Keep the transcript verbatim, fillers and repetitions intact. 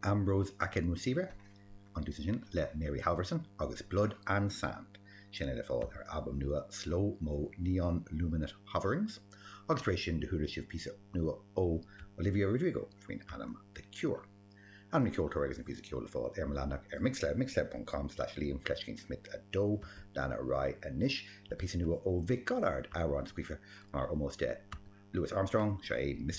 Ambrose Akinmusire an dtús sin le Mary Halvorson agus Blood and Sand. Sin é le fáil ar albam nua Slow Mo Neon Luminate Hoverings, agus tar éis sin do chuala sibh píosa nua ó Olivia Rodrigo faoin ainm The Cure. Ainm na ceoltóir agus an píosa ceoil le fáil ar mo leathanach ar Mixcloud mixcloud.com slash Liam fleiscín Smith a dó lean ar aghaidh anois le píosa nua ó Vic Godard amhrán scríofa mar ómós de Louis Armstrong seo é Mr.